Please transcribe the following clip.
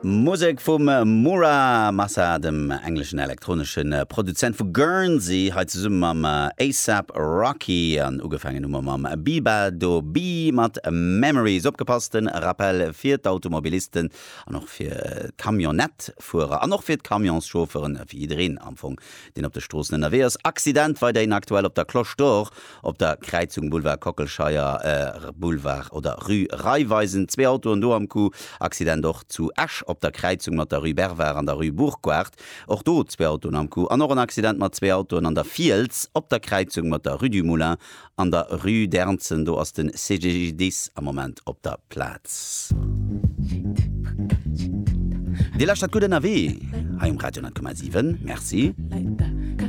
Musek vum Mura Masa, dem engleschen elektronesche Produzent vu Guernsey, hei zesumme mam A$AP Rocky. An ugefaangen hu mer mam Beabadoobee mat Memories. Opgepasst, den Rappel fir d'Automobilisten an och fir d'Camionnettëfuerer an och fir d'Camionschaufferen, fir jiddereen am Fong, deen op de Stroossen ënnerwee ass. Accident weiderhin aktuell op der Cloche d'Or Op der Kräizung Boulevard Kockelscheier, Boulevard oder Rue Raiffeisen, zwee Autoen do am Coup. Accident och zu Esch op der Kräizung mat der Rue Bervard an der Rue Bourquard, och do zwee Autoen am Coup. An och en Accident mat zwee Autoen an der Fiels op der Kräizung mat der Rue du Moulin an der Rue d'Ernzen. Do ass de CGDIS am Moment op der Plaz. Dir lauschtert gutt ënnerwee hei um Radio 10,7. Merci.